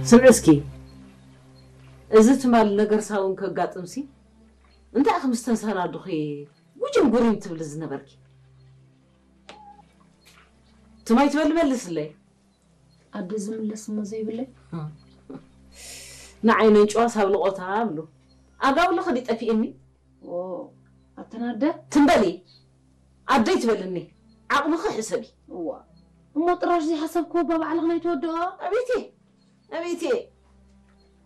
ስምዒ እስኪ፣ እዚ ትማል ነገር ሳውን ከጋጥምሲ እንታይ ኢኺ ምስ ተንሰናዱኺ ጉጅም ጉሪም ትብሊ ዝነበርኪ? ትማይ ትበሊ መልስለይ። ኣደ ዝምለስ እሞ ዘይብለይ። ንዓይ ነንጭዋ ሳብ ልቆታ ብሉ። ኣጋውልኺ ድዩ ጠፊእኒ? ኦ፣ ኣተን ኣደ? ትም በሊ። ኣደይ ትበልኒ። ዓቕምኺ ሕሰቢ። እዋ፣ እሞ ጥራሽ ዘይሓሰብክዎ እባ ባዕልኺ ናይ ተወድኦ። ኣቤቴ፣ ኣቤቴ።